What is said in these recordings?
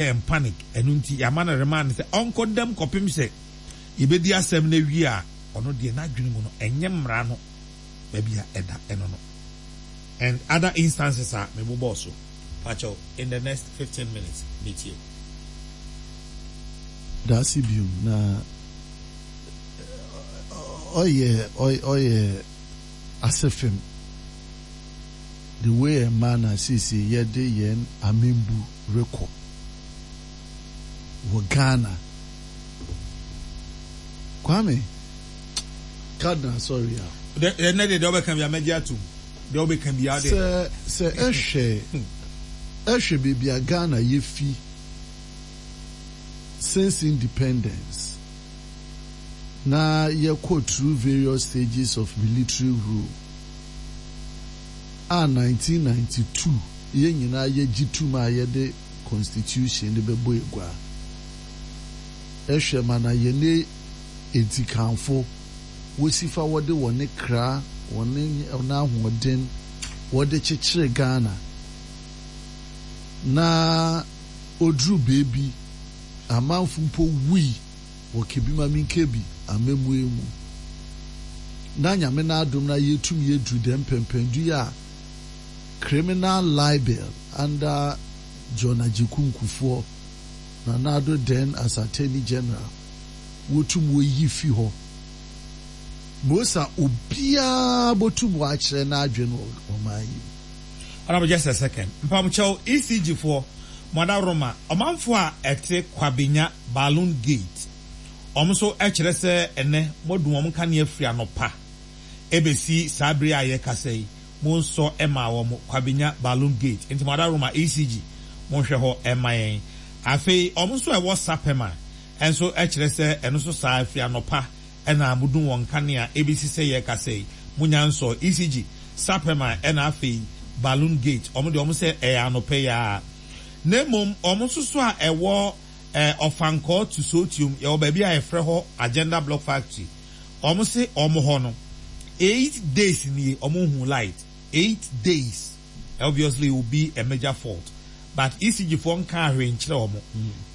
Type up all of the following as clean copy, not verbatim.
And panic, ɛno nti yɛama no remand sɛ ɔnkɔ dam kɔpem sɛ yɛbɛdi asɛm no awie a, ɔno deɛ n'adwene mu no ɛnyɛ mmara no baabi a ɛda ɛno no and other instances a mebobɔɔ so. Pakyɛw, in the next 15 minutes metie wo. Dase biom na ɔyɛ ɔyɛ asefem the way ɛma na seesei yɛde yɛn amembu rekɔ wɔ Ghana. Kwame Cardinal sorry a. Ɛnɛ deɛ deɛ wobɛka biara mɛgye atom. Deɛ wobɛka biara deɛ. Sɛ sɛ ɛhwɛ ɛhwɛ baabi a Ghana yɛfi since independence na yɛkɔ through various stages of military rule a 1992 yɛn nyinaa yɛgye tum a yɛde constitution no bɛbɔ egua. Ehwɛ ma na yɛne edzikanfo wosi fa wɔde wɔne kra, wɔne wɔn ahoɔden wɔde kyekyere Ghana. Na oduru beebi amanfo mpo wui wɔ Kebi-ma-Minkebi amammuei mu. Na Nyame n'adom na yetum yeduru dɛm pɛmpɛndu yi a criminal libel under John Agyekum Kufuor, Nana Addo then as Attorney General, wotum woyi fi hɔ. Mosa obiara botum ɔakyerɛ n'adwen wɔ ɔman yi mu. Honourable just a second mpamokyɛw ECG foɔ mo adaworoma ɔmanfoɔ a ɛte Kwabenya Balloon Gate wɔn nso kyerɛ sɛ ɛnɛ moadum wɔn nkanea firi anɔpa ɛbɛsi saa bere a yɛrekasa yi monsɔ mmaa wɔn Kwabenya Balloon Gate nti mo adaworoma ECG monhwɛ hɔ mma yɛn afei wɔn nso a ɛwɔ Sapema nso kyerɛ sɛ ɛno nso saa firi anɔpa na modum wɔn nkanea ebesi sɛ yɛrekasa yi monya nsɔɔ ECG, Sapema ɛna afei Balloon Gate wɔn deɛ wɔn sɛ ɛyɛ anɔpa yi ara na mmom wɔn nso so a ɛwɔ eh, Ɔfankɔɔ to Sotiom yɛwɔ baabi a yɛfrɛ hɔ Agenda Block Factory wɔn se wɔn hɔ no 8 days nie wɔn nhu light, 8 days. Obviously it will be a major fault but ECG foɔ nkaa hwee nkyerɛ wɔn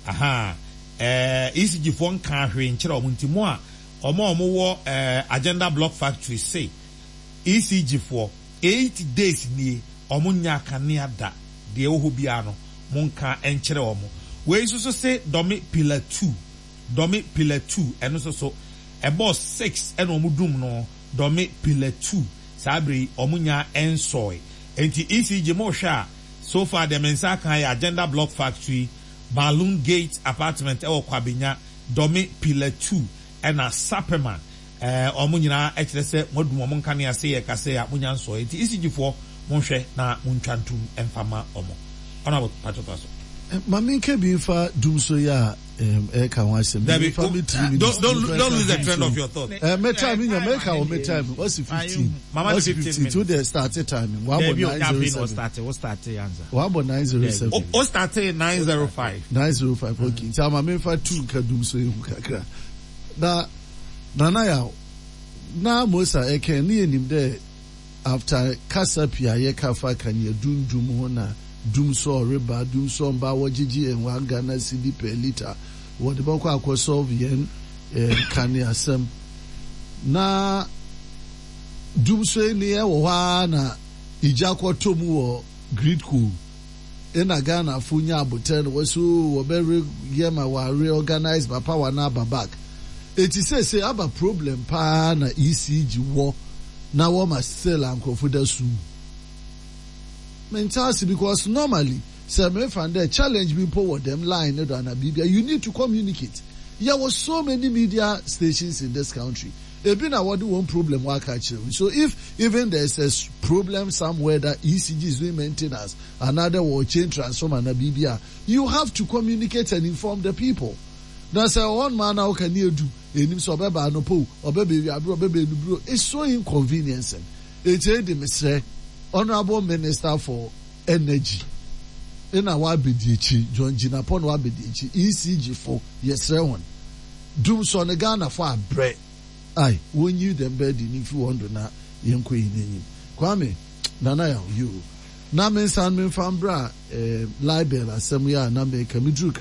ahaa eh, ECG foɔ nkaa hwee nkyerɛ wɔn nti mo a wɔn a wɔn wɔ eh, Agenda Block Factory se ECG foɔ 8 days nie wɔn nya kanea da, deɛ ɛwɔ hɔ biara no mo nka nkyerɛ wɔn. Wei nso so se Dome Pillar 2, Dome Pillar 2 ɛno nso so ɛbɔɔ 6 ɛna wɔn dum no Dome Pillar 2 saa bere yi wɔn nya nsɔe. Nti ECG mo hwɛ a, so far deɛ me nsa aka yɛ Agenda Block Factory, Balloon Gate Apartment ɛwɔ Kwabenya, Dome Pillar 2 ɛna Sapema. Wɔn nyinaa kyerɛ sɛ moadum wɔn nkanea se yɛka sɛ a monya nsɔe. Nti ECG foɔ monhwɛ na montwa ntom mfa ma wɔn. Honourable pakyɛ toa so. Ma menka bi mfa dum so yi a ɛka ho asɛm. Dabi, Mfa me 3 minutes. Don't lose the trend of your thought. Me time nya meka wɔ me time ɔsi 15. Mama no ɔsi 15 15 ti o minutes. De start time wabɔ Dabi o, 9 afei 07. na ɔstart, wo start ansa. Wabɔ 9:07. O start 9:05. 9:05, okay. Nti ama memfa two nka dum so ehu kakra. Na Nana Yaw na Mosa ɛkɛn ne yɛnim dɛ after kasa pii a yɛka fa kanea dundum ho na dum so ɔreba dum so ɔmba wɔgyegye yɛn 1 Ghana cedi per litre wɔde bɛkɔ akɔ solve yɛn kanea asɛm na dum so ni ɛwɔ hɔ ara na igya kɔtɔ mu wɔ Gridco ɛna Ghanafo nya abotɛ no wɔso wɔbɛre yɛ ma wɔ reorganize ma power na aba back. Eti seesei aba problem paa na ECG wɔ na wɔma still a nkurɔfo da sum. Mente ase because normally sɛ mefa dɛ challenge bi mpo wɔ dɛm line ne do ana biribia, you need to communicate. Yɛwɔ so many media stations in this country, ebi na wɔde wɔn problem wɔ aka kyerɛ wo. So if even there is a problem somewhere that ECG is doing maintenance, another wɔ change transformer na biribi a, you have to communicate and inform the people. Na sɛ ɔhɔ nom ana ɔka ne edu enim sɛ ɔbɛba anɔpɔ o, ɔbɛba ewiabere, ɔbɛba enubere, it's so inconveniencing. Eti edi mesrɛ Honourable Minister for Energy ɛna wabɛdi akyi, John Jinapor na wabɛdi akyi, ECG fo yɛsrɛ wɔn, dum sɔ ne Ghana fo abrɛ ai wɔnyi dɛm bɛɛdi ne mfi wɔn do na yɛnkɔ yi n'anim. Kwame Nana Yaw yoo na me nsan memfa mbra libel asɛm yi a na meka meduru.